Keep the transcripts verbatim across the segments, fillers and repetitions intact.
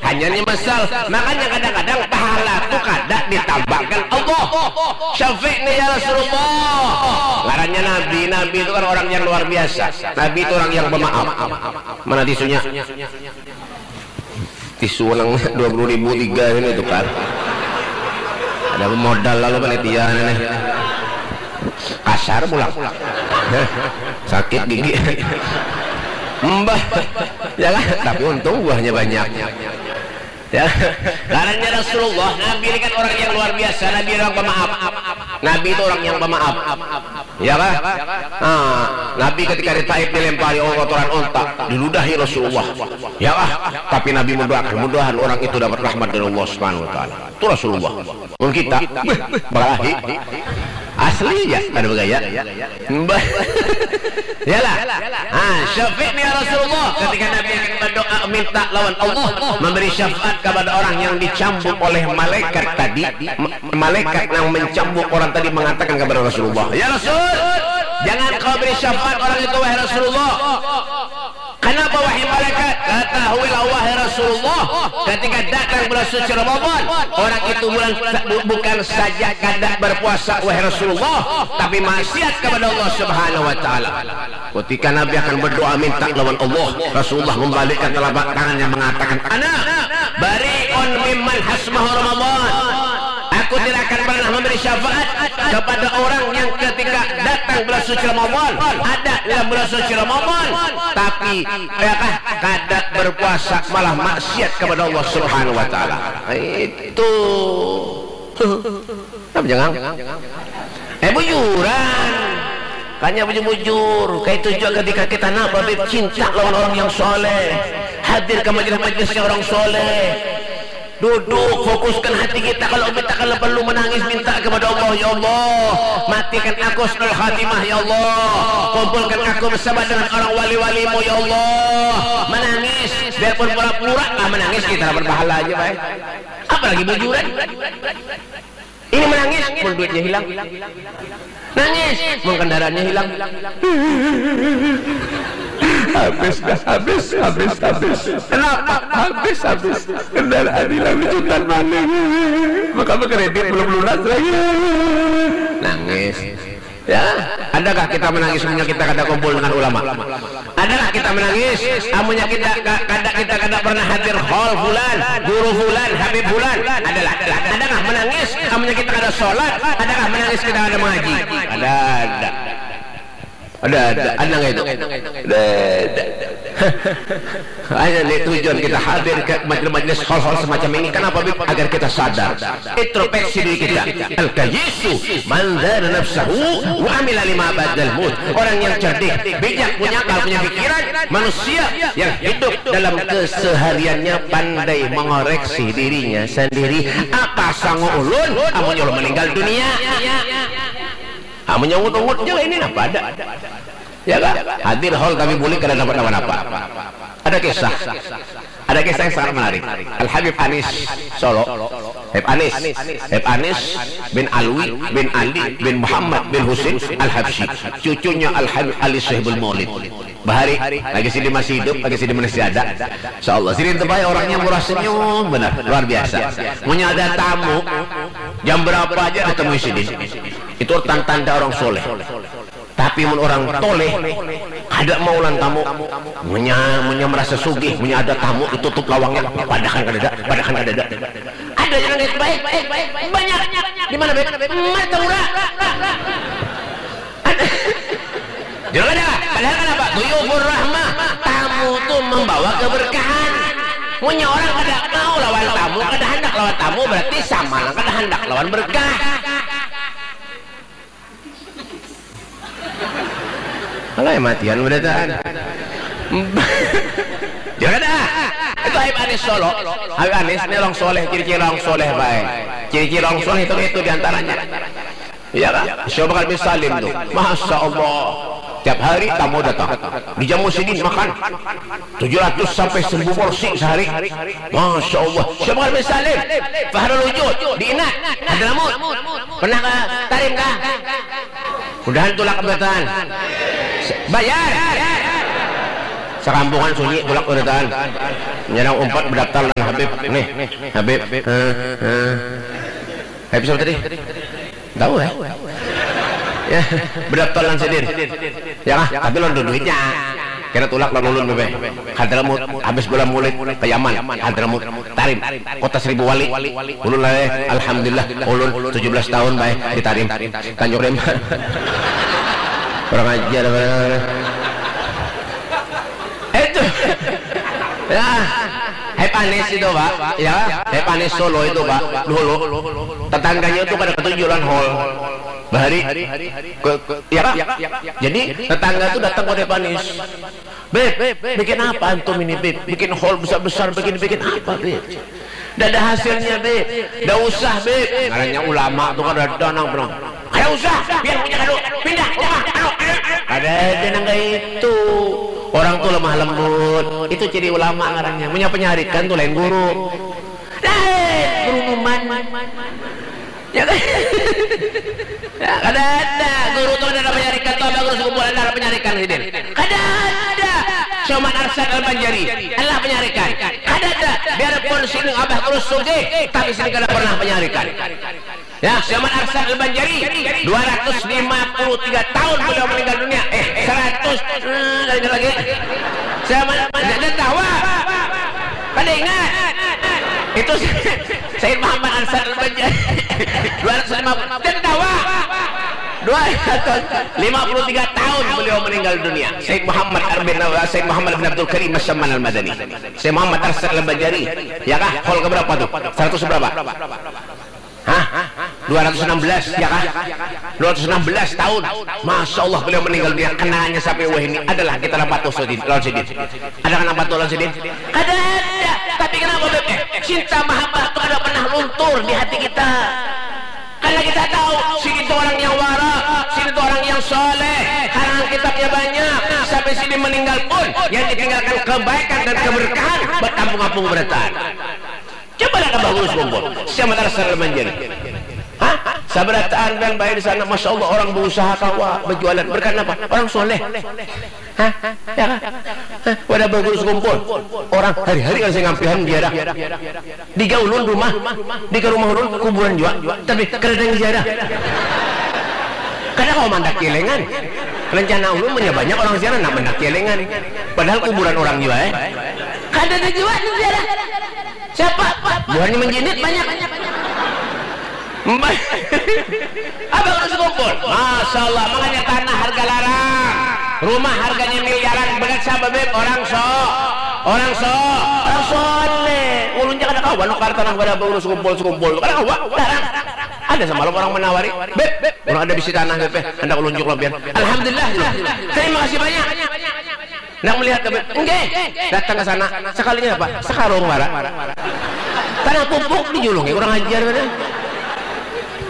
Hanya nyesal. Makanya kadang-kadang pahala tu kada ditambakan Allah. Syafi'ni ya Rasulullah. Ngarannya Nabi. Nabi itu kan orang yang luar biasa. Nabi itu orang yang pemaaf. Mana tisunya? Tisu nang dua puluh ribu tiga ini tukar. Ada modal lalu panitia ini. Kasar pulang. Sakit gigi. Mbah. Ya kan? Tapi untung buahnya banyak. Ya. Ngarannya Rasulullah, Nabi ini kan orang yang luar biasa, Nabi orang pemaaf. Nabi itu orang yang pemaaf. Ya kan? Nah, Nabi ketika di Taif dilempari oleh kotoran unta, diludahi Rasulullah. Ya kan? Tapi Nabi mendoakan, mudahan orang itu dapat rahmat dari Allah Subhanahu wa taala. Itu Rasulullah. Mun kita, beh, balahi. Asli ya, ada bagaya. Mbah. Yalah. Ah, syafi'ni ya Rasulullah. Ketika Nabi akan berdoa minta lawan Allah, memberi syafaat kepada orang yang dicambuk oleh malaikat tadi, ma- malaikat yang mencambuk orang tadi mengatakan kepada Rasulullah, "Ya Rasul, jangan kau beri syafaat orang itu, wahai Rasulullah." Kenapa, wahai malaikat? Ketahuilah, wahai Rasulullah, ketika datang bulan suci Ramadan, orang itu bulan bu- bukan saja kada berpuasa, wahai Rasulullah, tapi maksiat kepada Allah Subhanahu wa taala. Ketika Nabi akan berdoa minta lawan Allah, Rasulullah membalikkan telapak tangannya mengatakan, "Ana bari'un mimman hasmahu Ramadan." Aku tidak akan pernah memberi syafaat kepada orang yang ketika datang bulan suci Ramadan, ada dalam bulan suci Ramadan, tapi ya kah, kada berpuasa, malah maksiat kepada Allah Subhanahu wa taala. Itu. Kenapa jangan? Eh, bujuran. Kanya bujur-bujur. Kayak itu juga ketika kita nak, Habib, cinta lawan orang yang soleh, hadir ke majelis-majelisnya orang soleh, duduk, fokuskan hati kita. Kalau kita kalau perlu menangis, minta kepada Allah, "Ya Allah, matikan aku husnul khatimah, ya Allah. Kumpulkan aku bersama dengan orang wali-walimu, ya Allah." Menangis, biarpun pura-pura lah menangis, kita dapat pahala aja, baik. Apalagi bujuran. Ini menangis, mun duitnya hilang. Nangis, mun kendaraannya hilang. Habis dah, habis, habis, habis. Kenapa? Habis, habis. Kendaraan hilang, jutaan maling. Maka berkredit belum lunas lagi. Nangis. Ya, adakah kita menangis amunnya kita kada kumpul dengan ulama? Adakah kita menangis amunnya kita ka- kada, kita kada pernah hadir hall fulan, guru fulan, habib fulan? Adalah, adalah. Adakah menangis amunnya kita kada sholat? Adakah menangis kita kada mengaji? Ada, ada. Ada, ada. Ada nggak itu? Ada, ada. Hanya ni tujuan kita hadir ke majelis-majelis hal-hal semacam ini. Kenapa, Bib? Agar kita sadar, introspeksi diri kita. Al-kayyisu man dana nafsahu wa amila lima ba'dal maut. Orang yang cerdik, bijak, punya akal, punya pikiran, manusia yang hidup dalam kesehariannya pandai mengoreksi dirinya sendiri. Apa sangu ulun amun ulun meninggal dunia? Amun nyungut-ungut je ini napa ada? Ya kan? Hadir hall tapi bulik kada dapat napa-napa. Ada kisah. Ada kisah yang sangat menarik. Al Habib Anis Solo. Habib Anis. Habib Anis bin Alwi bin Ali bin Muhammad bin Husin Al Habsyi. Cucunya Al Habib Ali Sohibul Maulid. Bahari, lagi sini masih hidup, lagi sini masih ada. Insya Allah. Sini tempat orangnya murah senyum benar, luar biasa. Punya ada tamu, jam berapa aja ketemu sini. Itu tanda-tanda orang soleh. Tapi mun orang toleh, kada mau lan tamu. Munya, munya merasa sugih, munya ada tamu, ditutup lawangnya, padahan kadada, padahan kadada. Ada yang baik, baik, baik, baik, banyak. Di mana, baik? Mata ura. Jangan ada. Padahal kenapa? Duyufur rahmah. Tamu tu membawa keberkahan. Munya orang kada mau lawan tamu, kada handak lawan tamu, berarti sama lah kada handak lawan berkah. Alah, matian berataan. Jangan ada. Itu Habib Anis Solo. Habib Anis ini orang soleh, ciri-ciri orang soleh baik. Ciri-ciri orang soleh itu, itu diantaranya. Iya kan? Syekh Bakar bin Salim tuh. Masya Allah. Tiap hari tamu datang. Dijamu sidin makan. Tujuh ratus sampai seribu porsi sehari. Masya Allah. Syekh Bakar bin Salim. Fahrul Wujud. Di Inak. Hadramaut. Pernah ke Tarim kah? Mudahan tulak kebetulan. Bayar. Sekampungan sunyi tulak kebetulan. Nyerang umpat berdaftar lah. Habib, nih, Habib. Hah, hah. Habib siapa tadi? Tahu ya? Ya, berapa lawan sidin? Ya kah? Tapi lawan duitnya. Kena tulak lawan ulun bebe. Hadramaut, habis bola Maulid ke Yaman, Hadramaut, Tarim, kota seribu wali. Ulun lah, eh, alhamdulillah, ulun tujuh belas tahun baik di Tarim, Tanjung Rema. Kurang ajar, kurang ajar. Itu. Ya. Hai Panis itu, Pak. Ya, Hai Panis Solo itu, Pak. Dulu tetangganya itu kada ketuju lawan hall. Bahari ke, ke, ya, Pak. Jadi tetangga tuh datang ke Panis. "Beb, bikin apa antum ini, Beb? Bikin hall besar-besar begini, bikin apa, Beb?" "Ndak ada hasilnya, Beb." "Ndak usah, Beb." Ngarannya ulama tuh kan ada nang bilang, "Kada usah, biar punya kadu. Pindah, jangan, anu, anu, anu." Kada ada nang kayak itu. Orang tuh lemah lembut. Itu ciri ulama ngarannya. Punya penyarikan tuh lain guru. Lain guru numan. Ya kan? Ya, kada ada. Guru tuh ada penyarikan tuh, apa guru sekumpul ada penyarikan sidin. Kada ada. Sioman Arsyad Al Banjari adalah penyarikan. Kada ada. Biarpun sini abah guru sugih, tapi sini kada pernah penyarikan. Ya, Sioman Arsyad Al Banjari, dua ratus lima puluh tiga tahun beliau meninggal dunia. Eh, seratus. Hmm, lagi lagi. Sioman, ada tawa. Kada ingat. Itu Sayyid Muhammad Arsyad Al Banjari. Dua ratus lima puluh. Ada tawa. Dua ratus lima puluh tiga tahun beliau meninggal dunia. Sayyid Muhammad Arbin, Sayyid Muhammad bin Abdul Karim Asyaman Al Madani. Sayyid Muhammad Arsyad Al Banjari. Ya kah? Hall keberapa tuh? Seratus berapa? Hah? Dua ratus enam belas, ya kah? Dua ratus enam belas tahun. Masya Allah, beliau meninggal dunia. Kenangannya sampai wah ini adalah kita nampak tuh sidin, lawan sidin. Ada kan nampak tuh lawan sidin? Kada ada. Tapi kenapa, Beb? Eh, cinta mahabbah itu kada pernah luntur di hati kita. Karena kita tahu, sidin itu orang yang wara, sidin itu orang yang soleh, karangan kitabnya banyak. Sampai sidin meninggal pun, yang ditinggalkan kebaikan dan keberkahan bertampung-apung berataan. Coba lihat Abah Guru Sekumpul, Sioman Arsyad Al Banjari. Hah? Sabarataan bang baik di sana, masya Allah, orang berusaha kawa, berjualan. Berkat apa? Orang soleh. Hah? Ya kah? Hah? Wadah Abah Guru Sekumpul, orang hari-hari kan saya ngampihan ziarah. Di gaulun rumah, di ke rumah ulun kuburan jua, tapi kada ada yang ziarah. Kada kawa mandak kielengan. Rencana ulun punya banyak orang ziarah, nak mandak kielengan. Padahal kuburan orang jua, eh. Kada ada jua yang ziarah. Siapa? Buhannya menjinit banyak. Abang harus kumpul. Masya Allah, makanya tanah harga larang. Rumah harganya miliaran. Berat siapa, Beb? Orang so. Orang so. Orang soleh. Ulun jangan ada kawan nukar tanah pada Abang harus kumpul, sekumpul. Kada kawa, larang. Ada semalam orang menawari. Beb, Beb, orang ada bisi tanah, Beb, eh. Hendak ulun juk lobian. Alhamdulillah. Terima kasih banyak. Nang melihat kami, enggak, datang ke sana, sekalinya apa? Sekarung wara. Tanah pupuk dijulungi, kurang ajar kan?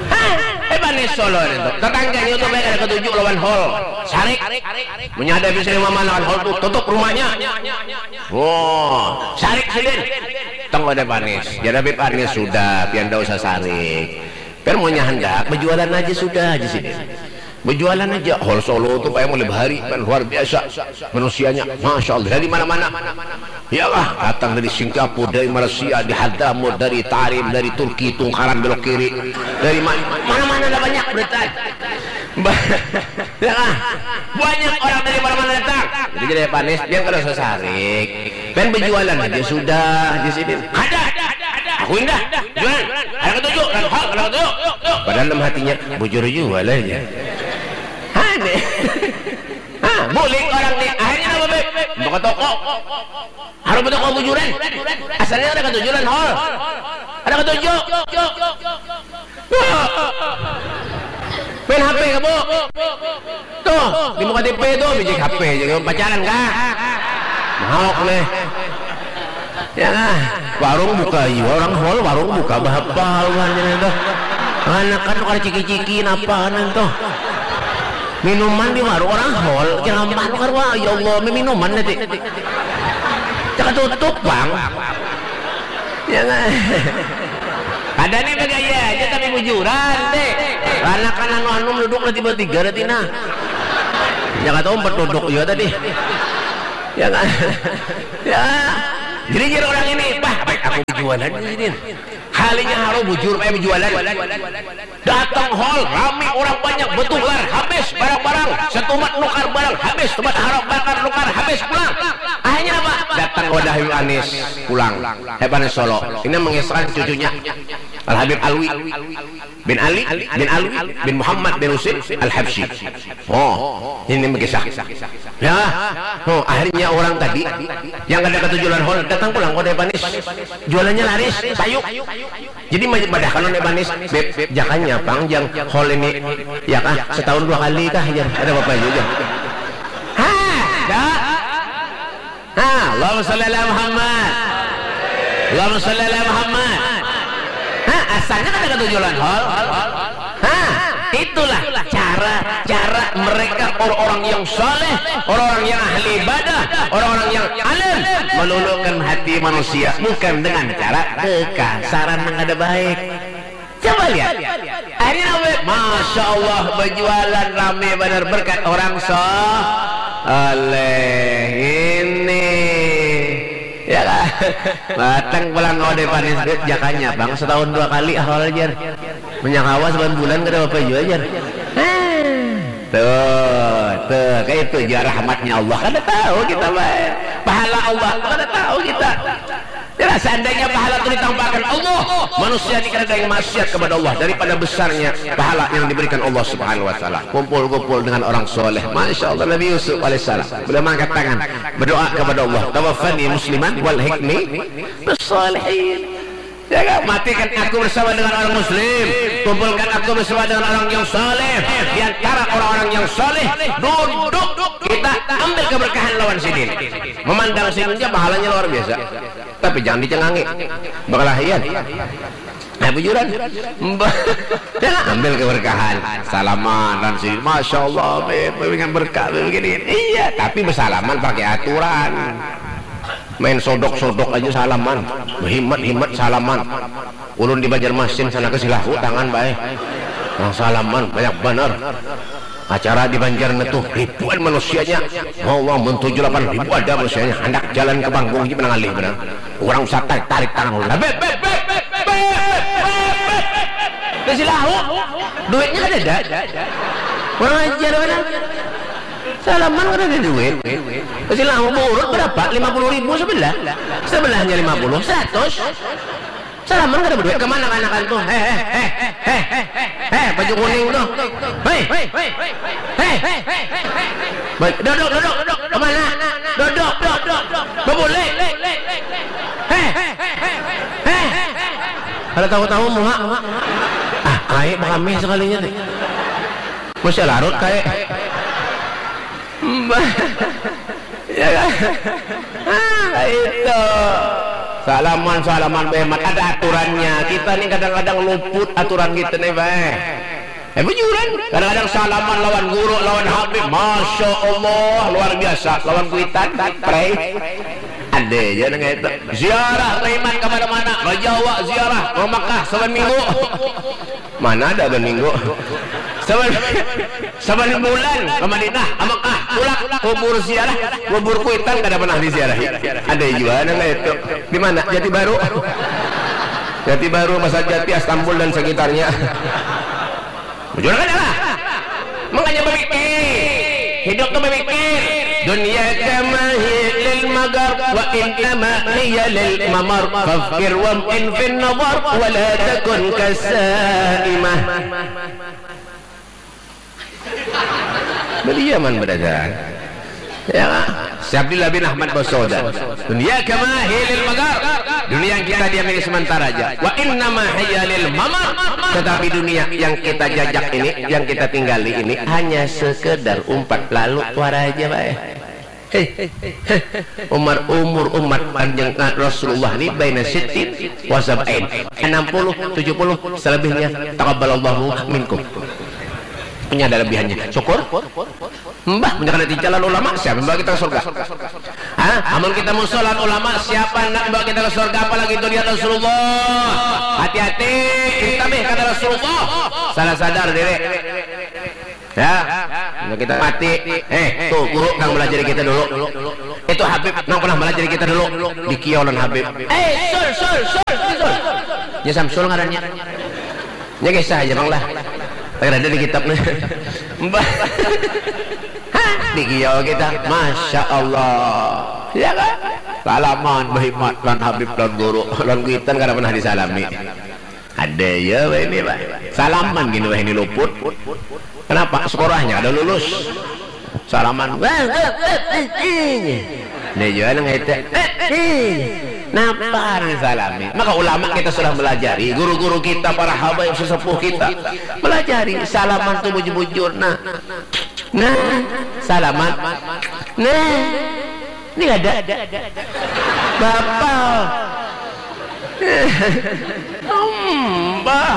Hah, eh, Panis Solo itu. Tetangganya itu baik ada ketujuh lawan hall. Sarik. Menyadap bisa lima mana lawan hall tuh, tutup rumahnya. Wah, sarik sidin. Tengok ada Panis. Jadi Panis sudah, pian dah usah sarik. Pian maunya hendak, berjualan aja sudah aja sidin. Berjualan aja, hall Solo tuh kayak mulai bahari kan luar biasa manusianya, masya Allah, dari mana-mana. Iyalah, datang dari Singapura, dari Malaysia, di Hadramaut, dari Tarim, dari Turki, Tungkaran belok kiri, dari ma- mana-mana ada banyak berita. Ba- ya lah, banyak orang dari mana-mana datang. Jadi jadi Panis, dia kada usah sarik. Kan berjualan aja sudah di sini. Kada. Aku indah. Jualan. Ada ketujuh. Ada hal. Ada ketujuh. Padahal dalam hatinya, bujur juga lah ya. Aneh. Ah, bulik orang nih. Akhirnya apa, Beb? Buka toko. Harus buka toko bujuran. Asalnya ada ketujuh dan hall. Ada ketujuh. Wah. Main H P kamu. Tuh, di muka T V tuh, biji H P aja, pacaran kah? Mau nih. Ya lah, warung buka, iya, orang hall, warung buka, bahapa, bukan, tuh. Anak kan kada ciki-ciki, napa, kan, tuh. Minuman di warung, orang hall, jangan, wah, ya Allah, minuman nanti. Jangan tutup, Bang. Ya kan? Ada nih bergaya aja tapi bujuran deh. Karena kan anu anu duduk lah tiba tiga ada tina. Ya kata umpat duduk juga tadi. Ya kan? Ya. Jadi jadi orang ini, bah, baik aku Jualan sidin. Halinya haro bujur, eh, jualan. Datang hall, rami orang banyak, betular, habis barang-barang. Setumat nukar barang, habis. Tumat harap bakar nukar, habis pulang. Akhirnya apa? Datang wadah Habib Anis pulang. Habib Anis Solo. Ini mengisahkan cucunya Al Habib Alwi bin Ali bin Alwi bin Muhammad bin Husin Al Habsyi. Oh, ini mengisah. Ya, oh, akhirnya orang tadi yang kada ketujuan hall datang pulang ke Habib Anis. Jualannya laris, payu. Jadi madahkan oleh Banis, "Beb, beb, jakanya pang jang hall ini, ya kah, setahun dua kali kah?" Jar. Ada apa juga? Ha, dah. Ha, Allahumma sholli ala Muhammad. Allahumma sholli ala Muhammad. Ha, asalnya kan ada ketujuan hall. Ha, itulah cara-cara mereka, orang-orang yang saleh, orang-orang yang ahli ibadah, orang-orang yang alim, meluluhkan hati manusia bukan dengan cara kekasaran yang ada baik. Coba lihat. Akhirnya apa? Masya Allah, berjualan rame benar berkat orang saleh ini. Ya kan? Batang pulang kau dari Panis, "Beb, jakanya pang setahun dua kali hall jar. Menyakawa sebulan bulan kada apa-apa jua jar." Tuh, tuh, kayak itu aja rahmatnya Allah. Kada tahu kita, Pak. Pahala Allah kada tahu kita. Ya, seandainya pahala itu ditampakan Allah, manusia ini kada ada yang maksiat kepada Allah daripada besarnya pahala yang diberikan Allah Subhanahu wa taala. Kumpul-kumpul dengan orang soleh. Masya Allah, Nabi Yusuf alaihissalam, beliau mengangkat tangan, berdoa kepada Allah, "Tawaffani musliman wal hikmi bisalihin." Ya kan? Matikan aku bersama dengan orang muslim, kumpulkan aku bersama dengan orang yang saleh. Di antara orang-orang yang saleh, duduk, kita ambil keberkahan lawan sidin. Memandang sidin aja pahalanya luar biasa. Tapi jangan dicengangi. Berkelahian. Nah, bujuran. Jangan ambil keberkahan. Salaman dan sidin. Masya Allah, Beb, Beb, dengan berkah, Beb, begini. Iya, tapi bersalaman pakai aturan. Main sodok-sodok aja salaman, himat-himat salaman. Ulun di Banjarmasin sana ke Silahu tangan bae. Orang salaman banyak banar. Acara di Banjar netuh ribuan manusianya. Mau uang mun tujuh lapan ribu ada manusianya. Hendak jalan ke panggung aja menang alih benar. Orang usah tarik-tarik tangan ulun. Beb, beb, beb, beb, beb, beb. Ke Silahu. Duitnya kan ada. Orang ajar benar. Salaman kada ada duit. Pasti lama berurut berapa? Lima puluh ribu sebelah. Sebelahnya lima puluh, seratus. Salaman kada berduit. Kemana kanakan tuh? Heh, heh, heh, heh, heh, heh, baju kuning tuh. Hei, hei, hei, hei, hei, hei, hei. Ba- Dodok, dodok, dodok. Kemana? Dodok, dodok, dodok. Babulek. Heh, heh, heh, heh. Kada tahu-tahu muha. Ah, kayak kami sekalinya tuh. Masih larut kayak. Mbah. Ya kan? Ah, itu. Salaman, salaman, behemat. Ada aturannya. Kita nih kadang-kadang luput aturan kita nih, bae. Eh, bujuran. Kadang-kadang salaman lawan guru, lawan habib. Masya Allah, luar biasa. Lawan kuitan, prei. Ada aja nang itu. Ziarah, Raiman, kemana-mana. Ke Jawa, ziarah. Ke Mekah, saban minggu. Mana ada saban minggu? Saban, saban bulan ke Madinah, ke Mekah, pulang kubur ziarah, kubur kuitan kada pernah diziarahi. Ada jua nang kaya itu. Di mana? Jati Baru. Jati Baru, Pasar Jati, Astambul dan sekitarnya. Bujur kada lah? Makanya berpikir. Hidup tu berpikir. Dunia kama hi lil magar wa innama hiya lil mamar. Fafkir wa in fin nazar wa la takun kasaimah. Badiaman badasaran. Ya, Syekh Abdillah bin Ahmad Basauda. Dunia kama hi lil magar. Dunia yang kita diam ini sementara aja. Wa innama hiya lil mamar. Tetapi dunia yang kita jajak ini, yang kita tinggali ini hanya sekedar umpat lalu wara aja, bae. Hei, hei, hei. Umar, umur umat panjang Rasulullah ni baina sittin wa sab'in. Enam puluh, tujuh puluh, selebihnya taqabbalallahu minkum. Ini ada lebihannya. Syukur. Mbah, mun kada di jalan ulama, siapa yang bawa kita ke surga? Hah? Amun kita musuh lawan ulama, siapa nak bawa kita ke surga? Apalagi itu dia Rasulullah. Hati-hati, intabih kata Rasulullah. Salah sadar diri. Ya, nah kita mati. Eh, tuh guru nang melajari kita dulu. Itu Habib nang pernah melajari kita dulu. Dikiau lawan Habib. Eh, sul, sul, sul. Nya Samsul ngarannya. Nya kisah aja, Bang, lah. Kada ada di kitab nih. Mbah. Hah, di kiau kita. Masya Allah. Ya kan? Salaman, bahimat, lan Habib, lan guru, lan kuitan kada pernah disalami. Ada ya, wah ini, Pak. Salaman gini, wah ini luput. Kenapa? Sekolahnya ada lulus. Salaman. Wah, wah, wah, wah, wah. Dia juga nang itu. Eh, eh. Napa nang salami? Maka ulama kita sudah melajari, guru-guru kita, para habaib sesepuh kita melajari salaman tu bujur-bujur. Nah, nah, salaman. Nah, ini ada. Bapak. Mbah.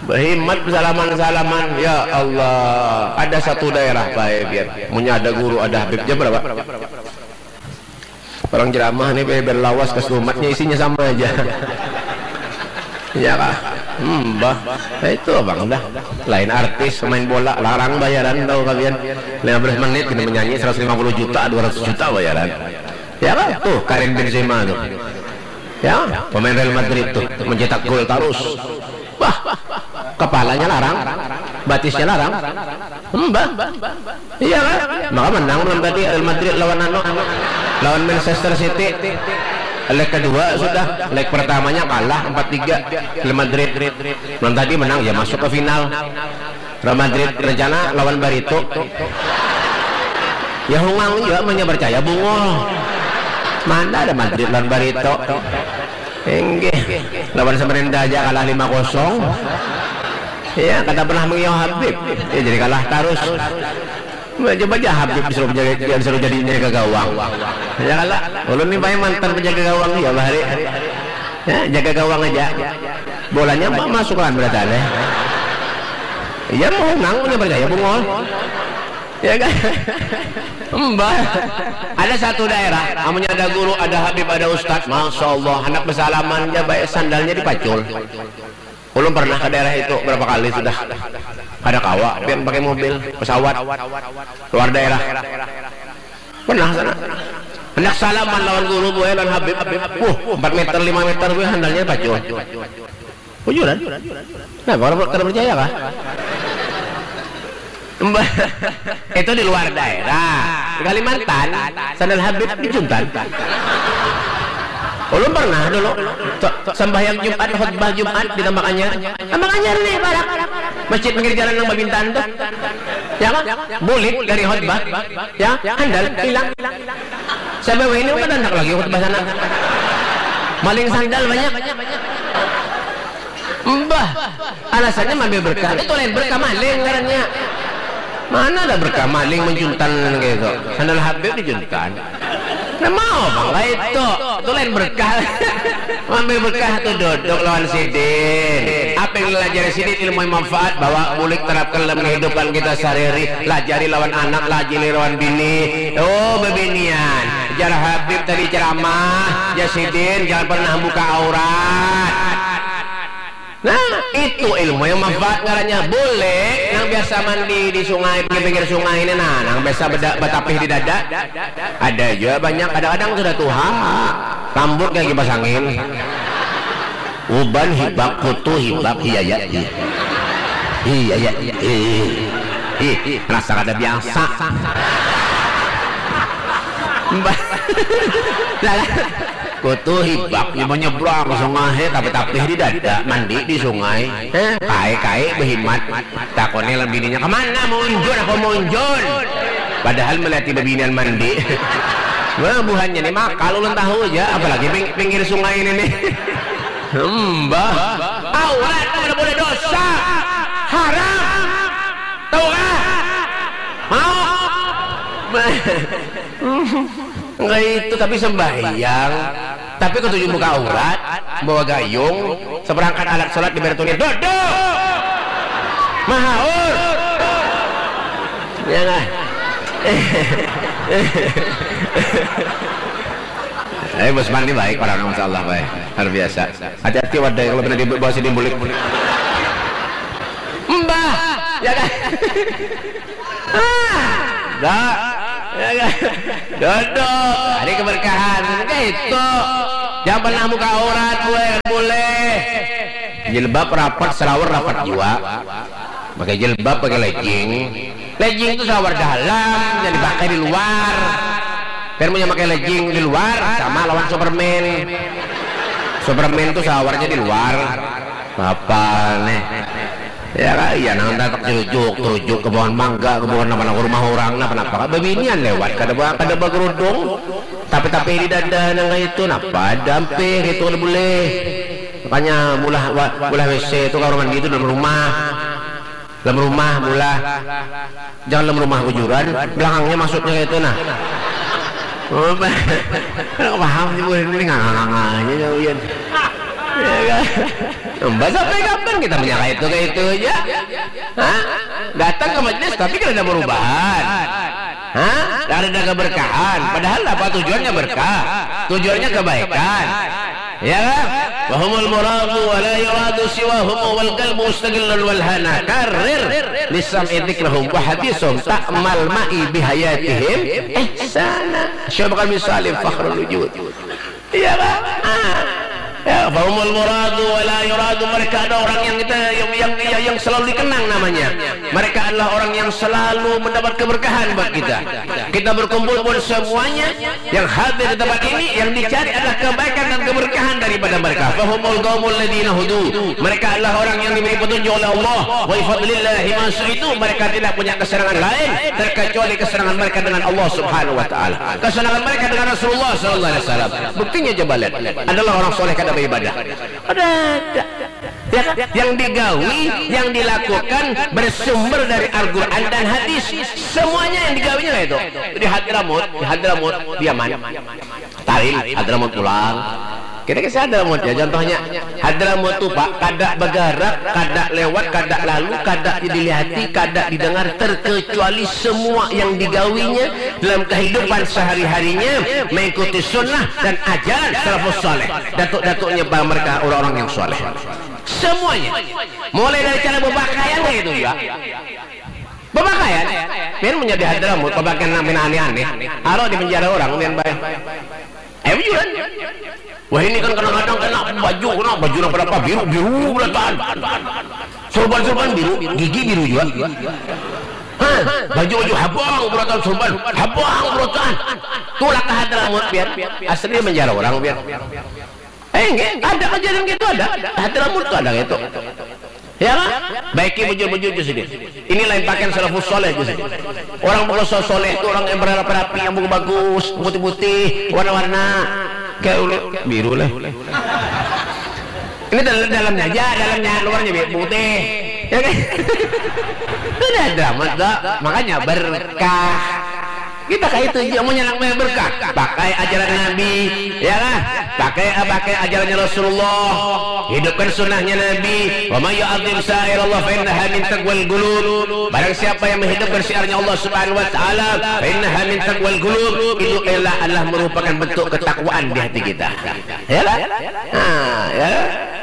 Bahimat salaman-salaman. Ya Allah. Ada satu daerah baik ya. Punya ada guru, ada habib. Jam berapa? Orang ceramah nih, be, berlawas ke selumatnya, isinya sama aja. Ya kah? Hmm, bah. Nah, itu abang dah. Lain artis, pemain bola, larang bayaran, tahu kalian. Lima belas menit ini menyanyi, seratus lima puluh juta, dua ratus juta bayaran. Ya kan? Tuh, Karim Benzema tuh. Ya, pemain Real Madrid tuh, mencetak gol terus. Wah, kepalanya larang, batisnya larang. Hmm, bah. Iya kan? Maka menang malam tadi Real Madrid lawan anu, lawan Manchester City. Leg kedua sudah, leg pertamanya kalah empat tiga Real Madrid. Malam tadi menang, ya masuk ke final. Real Madrid rencana lawan Barito. Ya hungang juga, amunnya percaya bungul. Mana ada Madrid lawan Barito? Inggih. Lawan Samarinda aja kalah lima kosong. Ya, kada pernah mengiau Habib. Ya, jadi kalah terus. Coba aja Habib disuruh jadi, disuruh jadi jaga gawang. Ya kalah. Ulun nih paling mantan penjaga gawang ya, bahari. Ya, jaga gawang aja. Bolanya apa masuk kan berarti aneh. Iya, mau nang punya percaya bungul. Ya kan? Mbah. Ada satu daerah, amunnya ada guru, ada habib, ada ustad, masya Allah, anak bersalaman aja baik sandalnya dipacul. Ulun pernah ke daerah itu berapa kali sudah. Kada kawa, pian pakai mobil, pesawat, luar daerah. Pernah sana. Hendak salaman lawan guru, buai, lawan habib. Wuh, empat meter, lima meter, buai, handalnya pacul. Bujuran? Nah, kada, kada percaya kah? Mbah, itu di luar daerah. Di Kalimantan, sandal habib di Juntan. Ulun pernah dulu, so-, sambahyang Jumat, khutbah Jumat di Tambak Anyar. Tambak Anyar nih, parak. Masjid pinggir jalan nang babintan tuh. Ya kan? Bulik dari khutbah. Ya, handal hilang. Sampai wahini kada handak lagi khutbah sana. Maling sandal banyak. Mbah, alasannya maambil berkah. Itu lain berkah, maling ngarannya. Mana ada berkah maling mencuntan kaya itu. Sandal habib dicuntan. Nah, mau bang kaya itu. Itu lain berkah. Maambil berkah tu duduk lawan sidin. Apa yang dilajari sidin, ilmu yang manfaat, bawa bulik, terapkan dalam kehidupan kita sehari-hari. Lajari lawan anak, lajari lawan bini. Oh, bebinian. Jar Habib tadi ceramah, jar sidin, jangan pernah buka aurat. Nah, itu ilmu yang manfaat ngarannya. Boleh, nang biasa mandi di sungai, pinggir-pinggir sungai ini, nah, nang biasa beda-, batapih di dada. Ada jua banyak, kadang-kadang sudah tuha, rambut kayak kipas angin. Uban hibak, kutu hibak, iya ya, iya. Iya ya, iya. Ih, rasa kada biasa. Mbah. Lah, lah. Kutu hibak, nya menyeberang ke sungai, tapi tapih di dada, mandi di sungai. Heh, kai-kai behimat. Takoni lawan bininya, "Kemana, munjun apa munjun?" Padahal melihati bebinian mandi. Wah, buhannya nih makal ulun tahu aja, apalagi ping-, pinggir sungai ini nih. Mbah, aurat kada boleh dosa. Haram. Tahu kah? Mau? Enggak itu, tapi sembahyang. Tapi ketujuh buka aurat, bawa gayung, seperangkat alat sholat di Bertuni. Duduk! Mahaur! Ya lah. Eh, Bos Mandi baik orang, masya Allah, baik. Luar biasa. Hati-hati wadai kalau pernah dibawa sini bulik. Mbah, ya kan? Ah, dah. Ya kan? Duduk. Hari keberkahan. Kayak itu. Jangan pernah buka aurat, gue boleh. Jilbab rapat, salawar rapat jua. Pakai jilbab, pakai legging. Legging tu salawar dalam, yang dipakai di luar. Kan mun yang pakai legging di luar sama lawan Superman. Superman tu salawarnya di luar. Apa nih? Ya kan, iya nang tatak terujuk, terujuk ke pohon mangga, ke pohon apa, ke rumah orang, napa napa, babinian lewat, kada ba, kada bagerudung, tapi tapi di dada nang kayak itu, napa ada ampih itu, kada boleh. Makanya mulah wa- mulah W C itu, kamar mandi itu dalam rumah, dalam rumah mulah, jangan dalam rumah bujuran, belakangnya masuknya kayak itu nah. Oh, paham sih, boleh ini nganga-nganga aja jauh ya. Ya kan? Mbak, sampai kapan kita punya kayak itu, kayak itu aja? Hah? Datang ke majelis tapi kan ada perubahan. Hah? Ada keberkahan. Padahal apa tujuannya berkah? Tujuannya kebaikan. Ya kan? Wahumul muradu wa la yuradu siwahum wal qalbu mustaqillun wal hana. Karrir lisam idzikrahum wa hadisum ta'mal ma'i bihayatihim ihsana. Syekh Bakar bin Salim Fakhrul Wujud. Iya kan? Ah. Ya, fahumul muradu wa la yuradu. Mereka ada orang yang kita yang yang yang, yang selalu dikenang namanya. Mereka adalah orang yang selalu mendapat keberkahan buat kita. Kita berkumpul pun semuanya yang hadir di tempat ini, yang dicari adalah kebaikan dan keberkahan daripada mereka. Fahumul qaumul ladzina hudu. Mereka adalah orang yang diberi petunjuk oleh Allah. Wa fadlillahi ma itu, mereka tidak punya kesenangan lain terkecuali kesenangan mereka dengan Allah Subhanahu wa taala. Kesenangan mereka dengan Rasulullah sallallahu alaihi wasallam. Buktinya coba lihat. Adalah orang soleh kada beribadah. Ada, ada. Ya kan? Yang digawi, yang dilakukan bersumber dari Al-Quran dan hadis. Semuanya yang digawinya itu. Di Hadramut, di Hadramut, di Yaman. Tarim, Hadramut pulang. Kita kisah Hadramut ya, contohnya. Hadramut tu, Pak, kada bagarak, kada lewat, kada lalu, kada dilihati, kada didengar, terkecuali semua yang digawinya dalam kehidupan sehari-harinya mengikuti sunnah dan ajaran salafus saleh. Datuk-datuknya mereka orang-orang yang saleh. Semuanya. Mulai dari cara berpakaian kayak itu juga. Berpakaian, pian menjadi Hadramut, berpakaian nang pina aneh-aneh. Aro di penjara orang, pian bae. Ayo bujuran. Wah, ini kan kadang-kadang kena baju, kena baju nang berapa biru, biru berataan. Sorban, sorban biru, gigi biru juga. Hah, baju, baju habang berataan, sorban habang berataan. Tulah ke Hadramut, pian. Asli penjara orang, pian. Eh, enggak, ada kejadian gitu, ada. Hadramut tuh ada gitu. Ya kan? Baiki bujur-bujur tu sidin. Ini lain pakaian salafus soleh tu sidin. Orang pokok so- soleh tu orang yang berapa rapi, yang bagus-bagus, putih-putih, warna-warna. Kayak ulu- biru lah. Ini dalam dalamnya aja, dalamnya, luarnya bi- putih. Ya kan? Itu ada drama tu. Makanya berkah. Kita kayak itu aja, mau nyenang, mau berkah. Pakai ajaran Nabi, ya kan? Pakai pakai ajarannya Rasulullah. Hidupkan sunnahnya Nabi. Wa may yu'adzim sya'airallah fa innaha min taqwal qulub. Barang siapa yang menghidupkan syiarnya Allah Subhanahu wa taala, fa innaha min taqwal qulub, itu adalah, adalah merupakan bentuk ketakwaan di hati kita. Ya kan? Nah, ya.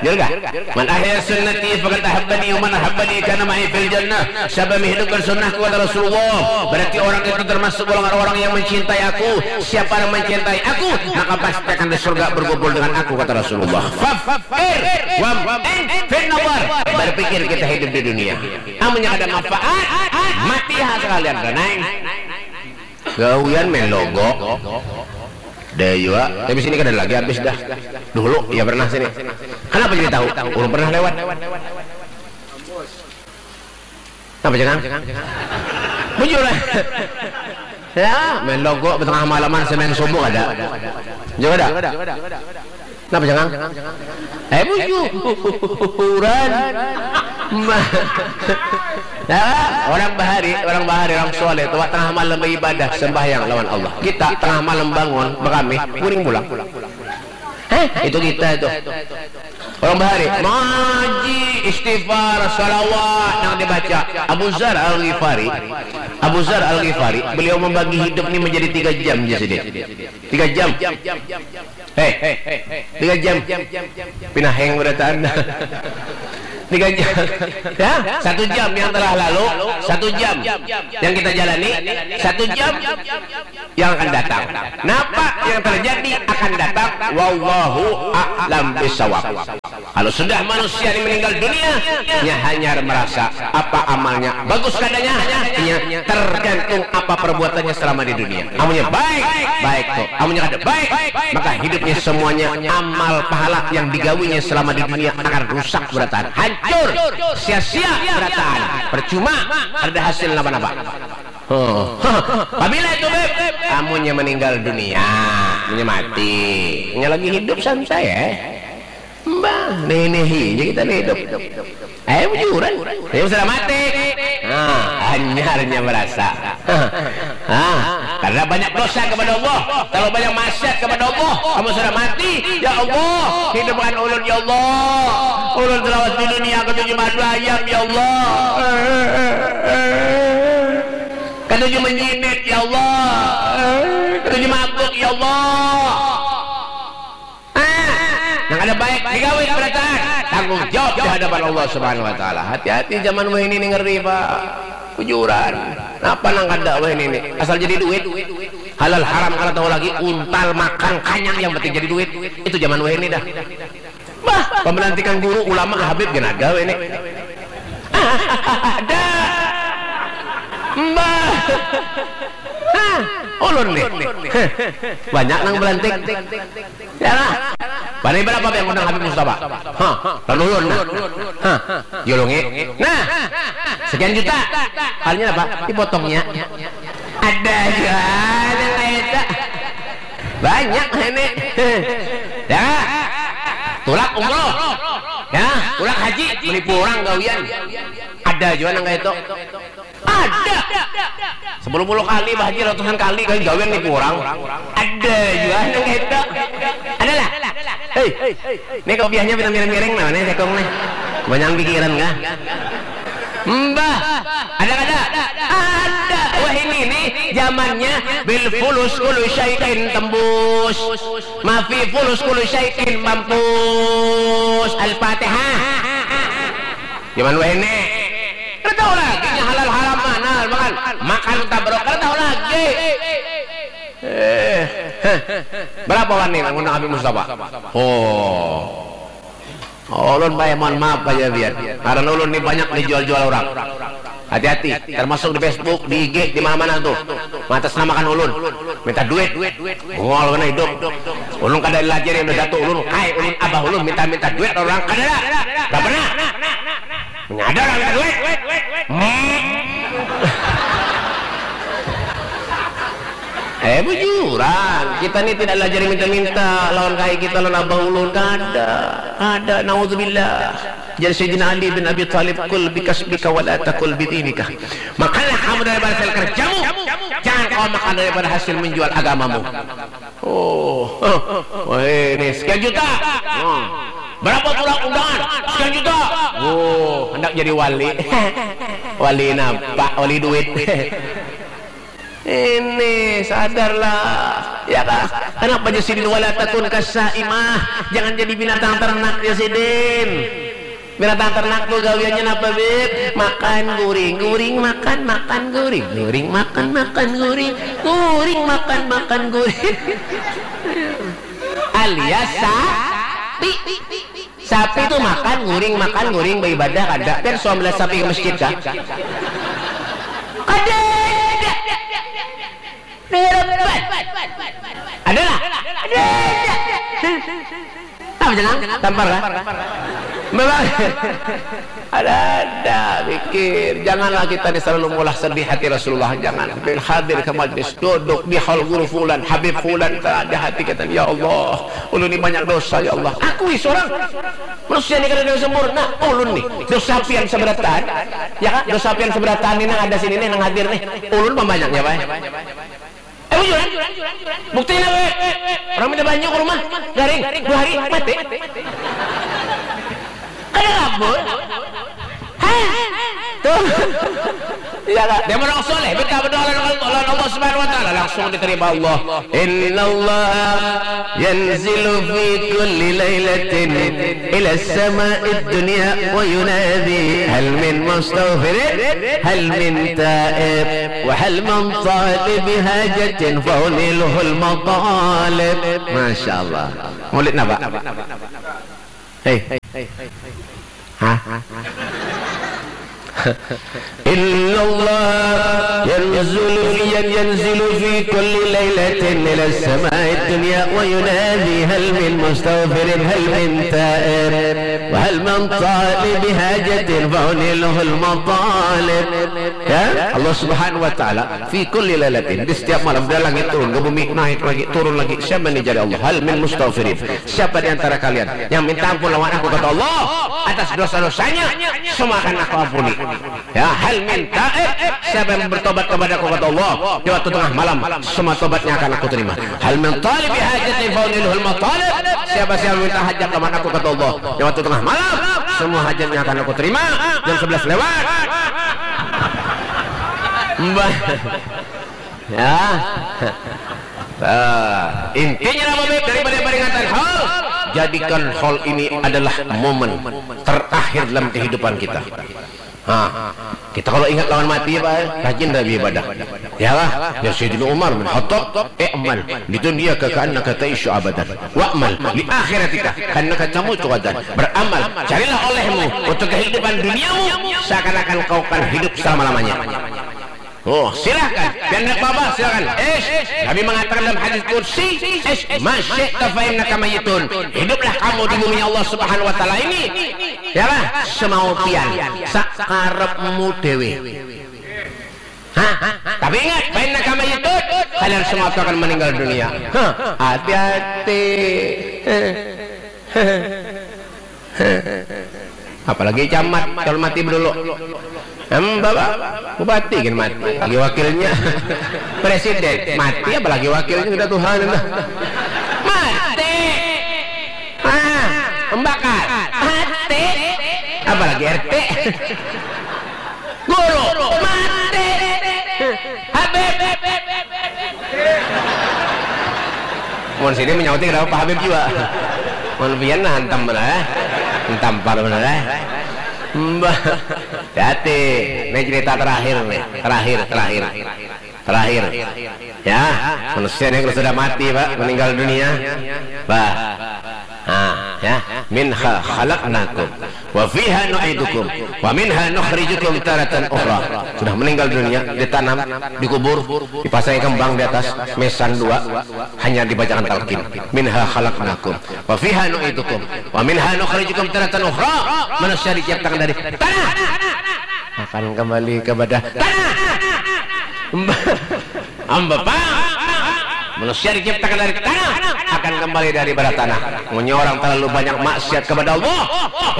Jurga. Man ahya sunnati faqad ahabbani wa man ahabbani kana ma'i fil jannah. Siapa menghidupkan sunnahku, kata Rasulullah, berarti orang itu termasuk golongan orang yang mencintai aku. Siapa yang mencintai aku, maka pasti akan di surga berkumpul dengan aku, kata Rasulullah. Fafkir wa in fin nawar. Berpikir kita hidup di dunia. Amunnya ada manfaat, mati ha sekalian, Reneng. Gawian main logo. Ada jua. Tapi sini kada lagi, habis dah. Dulu ya pernah sini. Kenapa jadi tahu? Ulun pernah lewat. Kenapa jangan? Bujur lah. Ya, main logo tengah malaman, semain subuh ada. Juga ada. Napa jangan? Eh, bujuran. Ma- Ya, orang bahari, orang bahari, orang soleh, tua tengah malam beribadah, sembahyang lawan Allah. Kita tengah malam bangun, berkami, guring pulang. Heh, itu kita itu. Orang bahari, ngaji, istighfar, salawat yang dibaca. Abu Zar Al Ghifari, Abu Zar Al Ghifari, beliau membagi hidup ini menjadi tiga jam je sidin. Tiga jam. Hei, tiga jam. Pinaheng berataan. Tiga jam. Ya, satu jam yang telah lalu, satu jam yang kita jalani, satu jam yang akan datang. Napa yang terjadi akan datang. Wallahu a'lam bishawab. Kalau sudah manusia ini meninggal dunia, nya hanyar merasa apa amalnya, bagus kadanya, nya tergantung apa perbuatannya selama di dunia. Amunnya baik, baik tu. Amunnya kada baik, maka hidupnya semuanya amal pahala yang digawinya selama di dunia akan rusak berataan, hancur, sia-sia berataan, percuma, kada hasil napa-napa. Oh. Pabila itu, Beb? Amunnya meninggal dunia, amunnya mati, nya lagi hidup santai eh. Mbah, nenehi aja kita nih hidup. Eh, bujuran. Yang sudah mati. Nah, hanyarnya merasa. Ah, karena banyak dosa kepada Allah, terlalu banyak maksiat kepada Allah. Kamu sudah mati, ya Allah, hidupkan ulun ya Allah. Ulun selawas di dunia katuju madu ayam ya Allah. Katuju menjinik ya Allah. Katuju mabuk ya Allah. Ah, nang kada baik digawi berataan, tanggung jawab di hadapan Allah Subhanahu wa taala. Hati-hati zaman wahini ni ngeri, Pak. Bujuran. Napa nang kada wahini ni? Asal jadi duit. Halal haram kada tahu lagi, untal makan kanyang yang penting jadi duit. Itu zaman wahini dah. Bah, pembelantikan guru, ulama, habib gin ada wahini. Ada. Mbah. Hah, ulun nih. Banyak nang belantik. Ya lah. Bani berapa yang undang Habib Mustafa? Hah, lalu ulun nah. Hah, julungi. Nah, sekian juta. Kalinya apa? Dipotongnya. Ada aja nang kayak itu. Banyak ini. Ya. Tulak umroh. Ya, tulak haji, menipu orang gawian. Ada juga nang kayak itu. Ada. Sepuluh puluh kali, Bah Haji, ratusan kali, kalian gawian nipu orang. Ada juga nang kayak itu. Ada lah. Hei, ini kopiahnya pina miring-miring nah, nih sekong nih. Banyak pikiran kah? Mbah, ada kada? Ada. Wah ini nih zamannya bil fulus kullu syai'in tembus. Mafi fulus kullu syai'in mampus. Al-Fatihah. Zaman wahini. Kada tahu lagi nya halal haram mana makan. Makan tabrok kada tahu lagi. Eh, heh. Berapa wani ngundang Habib Mustafa? Oh. Ulun, Pak, mohon maaf aja biar. Karena ulun ni banyak dijual-jual orang. Hati-hati, termasuk di Facebook, di I G, di mana-mana tuh. Mengatasnamakan ulun, minta duit. Mual kena hidup. Ulun kada lajari yang datu ulun, kai ulun, abah ulun minta-minta duit orang kada. Kada pernah. Menyadar minta duit. Hmm. Eh, bujuran, kita ni tidak lajari minta-minta lawan kai kita, lawan abah ulun, kada. Kada, naudzubillah. Jadi Sayyidina Ali bin Abi Thalib, "Kul bikasbika wa la takul bidinika." Makanlah kamu daripada hasil kerjamu, jangan kau makan daripada hasil menjual agamamu. Oh, wah ini sekian juta. Hmm. Berapa pula undangan? Sekian juta. Oh, hendak jadi wali. Wali napa? Wali duit. Ini sadarlah, ya kah? Kenapa aja sidin wala takun kasaimah? Jangan jadi binatang ternak ya sidin. Binatang ternak tuh gawiannya apa, Bib? Makan guring, guring makan, makan guring, guring makan, makan guring, guring makan, makan guring. Alias sapi. Sapi tuh makan guring, makan guring, beribadah kada. Pian suam belas sapi ke masjid kah? Kada. Ada lah. Ada. Apa jenang? Tampar lah. Memang ada ada pikir. Janganlah kita ni selalu mengolah sedih hati Rasulullah. Jangan. Bin hadir ke majlis, duduk di hal guru fulan, Habib fulan, ada hati kita. Ya Allah, ulun ni banyak dosa ya Allah. Akui seorang manusia ni kada ada sempurna. Ulun ni dosa pian seberatan. Ya kan? Dosa pian seberatan ni nang ada sini nih, nang hadir nih. Ulun pembanyaknya, Pak. Eh, bujuran. Buktinya, weh. Orang minta banyu ke rumah, garing, dua hari, mati. Kada kabul. Hah? Tuh. Iya, Kak. Dia orang soleh, minta berdoa lawan Allah Subhanahu wa taala, langsung diterima Allah. Innallaha yanzilu fi kulli lailatin ila sama'id dunya wa yunadi hal min mustaghfirin hal min taib wa hal min talibi hajatin faunilhul matalib. Masya Allah. Maulid napa? Eh. Hah? Innallaha yanzulu fi, yanzilu fi kulli lailatin ila samai dunya wa yunadi hal min mustaghfirin hal min taib wa hal min talib hajatin fa unilhul matalib. Ya, Allah Subhanahu wa taala fi kulli lailatin, di setiap malam dari langit turun ke bumi, naik lagi, turun lagi. Siapa ini, jari Allah? Hal min mustaghfirin. Siapa di antara kalian yang minta ampun lawan aku, kata Allah, atas dosa-dosanya? Semua akan aku ampuni. Ya, hal min taib, siapa yang bertobat kepada aku, kata Allah, di waktu tengah malam, semua tobatnya akan aku terima. Hal min talib hajatin fa unilhul matalib, siapa yang minta hajat lawan aku, kata Allah, di waktu tengah malam, semua hajatnya akan aku terima. Jam sebelas lewat. Mbah. Ya. Nah, intinya apa, Beb? Daripada peringatan haul, jadikan haul ini adalah momen terakhir dalam kehidupan kita. Nah, kita kalau ingat lawan mati, apa, rajin dah beribadah. Ya lah, ya Sayyidina Umar bin Khattab, "I'mal, di dunia ka annaka ta'isyu abadan. Wa'mal, li akhiratika, ka annaka tamutu ghadan." Beramal, carilah olehmu untuk kehidupan duniamu, seakan-akan kau akan hidup selama-lamanya. Oh, silahkan. Pian handak babah, silahkan. Ish, Nabi mengatakan dalam hadis qudsi, "Ish, ma syi'ta fa innaka mayyitun." Hiduplah kamu di bumi Allah Subhanahu wa taala ini. Yalah, semau pian, sakarepmu dewe. Hah? Tapi ingat, fa innaka mayyitun. Kalian semua tu akan meninggal dunia. Hah, hati-hati. Apalagi camat, kalau mati dulu. Em, Bapak, bupati kan mati, lagi wakilnya. Presiden mati, apalagi wakilnya, sudah Tuhan, nah. Mati. Ah, pembakar mati, apalagi R T. Guru mati. Habib. Mun sini menyauti kenapa Pak Habib juga. Mun pian nah hantam benar, eh. Hantam par benar, eh. Mbah. Hati-hati. Ini cerita terakhir nih. Terakhir, terakhir. Terakhir. Ya, manusia yang sudah mati, Pak, meninggal dunia. Bah. Nah, ya, "Minha khalaqnakum wa fiha nu'idukum wa minha nukhrijukum taratan ukhra." Sudah meninggal dunia, ditanam, dikubur, dipasangi kembang di atas, mesan dua, hanya dibacakan talqin. "Minha khalaqnakum wa fiha nu'idukum wa minha nukhrijukum taratan ukhra." Manusia diciptakan dari tanah, akan kembali kepada tanah. Amba pang. Manusia diciptakan dari tanah, akan kembali daripada tanah. Munnya orang terlalu banyak maksiat kepada Allah,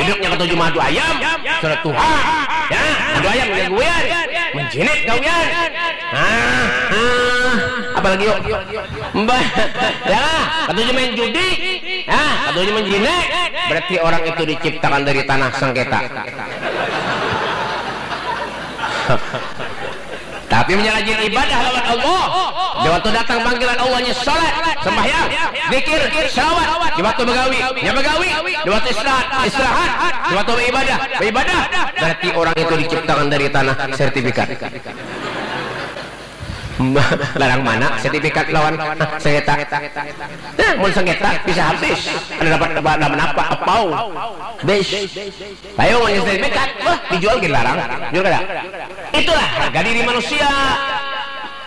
hidupnya katuju madu ayam, sudah tuha. Ya, madu ayam gawian, menjinik gawian. Ah, ah, apalagi yuk? Mbah, ya, katuju main judi. Ya, katuju menjinik. Berarti orang itu diciptakan dari tanah sengketa. Tapi munnya rajin ibadah lawan Allah, di waktu datang panggilan Allahnya salat, sembahyang, zikir, salawat, di waktu begawi, nya begawi, di waktu istirahat, istirahat, di waktu beribadah, beribadah. Berarti orang itu diciptakan dari tanah, sertifikat. Larang mana sertifikat lawan sengketa? Nah, mun sengketa bisa habis. Kada dapat apa, apa, apa, apau. Bis. Ayo, mun sertifikat, wah, dijual gin larang. Jual kada? Itulah harga diri manusia.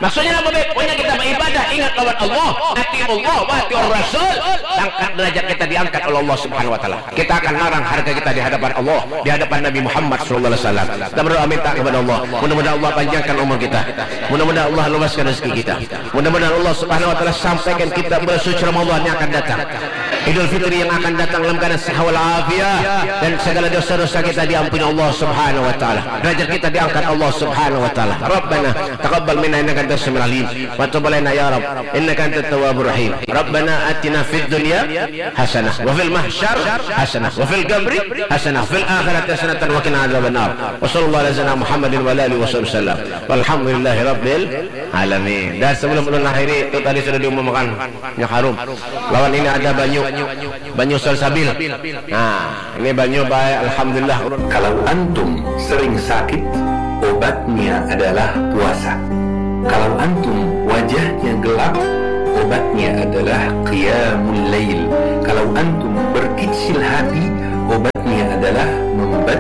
Maksudnya apa, Beb? Pokoknya kita beribadah, ingat lawan Allah, atiullah wa atiur rasul. Angkat derajat kita, diangkat oleh Allah Subhanahu wa taala. Kita akan larang harga kita di hadapan Allah, di hadapan Nabi Muhammad sallallahu alaihi wasallam. Kita berdoa minta kepada Allah, mudah-mudahan Allah panjangkan umur kita. Mudah-mudahan Allah luaskan rezeki kita. Mudah-mudahan Allah Subhanahu wa taala sampaikan kita bulan suci Ramadan yang akan datang, Idul Fitri yang akan datang dalam keadaan sehat walafiat, dan segala dosa-dosa kita diampuni Allah Subhanahu wa taala. Derajat kita diangkat Allah Subhanahu wa taala. Rabbana taqabbal minna innaka antas samiul alim, wa tub alaina ya Rabb innaka antat tawwabur rahim. Rabbana atina fid dunya hasanah wa fil mahsyar hasanah wa fil qabri hasanah wa fil akhirati hasanatan wa qina adzabannar. Wa sallallahu ala sayyidina Muhammadin wa ala alihi wa sahbihi wasallam. Walhamdulillahi rabbil alamin. Dan sebelum ulun akhiri, itu tadi sudah diumumkan, minyak harum. Lawan ini ada banyu, banyu salsabil. Nah, ini banyu baik, alhamdulillah. Kalau antum sering sakit, obatnya adalah puasa. Kalau antum wajahnya gelap, obatnya adalah qiyamul lail. Kalau antum berkicil hati,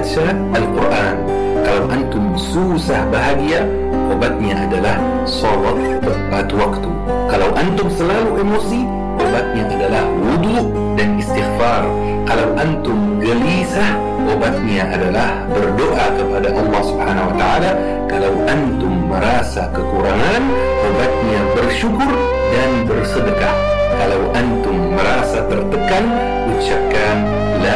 baca Al-Quran. Kalau antum susah bahagia, obatnya adalah salat tepat waktu. Kalau antum selalu emosi, obatnya adalah wudu dan istighfar. Kalau antum gelisah, obatnya adalah berdoa kepada Allah Subhanahu wa Ta'ala. Kalau antum merasa kekurangan, obatnya bersyukur dan bersedekah. Kalau antum merasa tertekan, ucapkan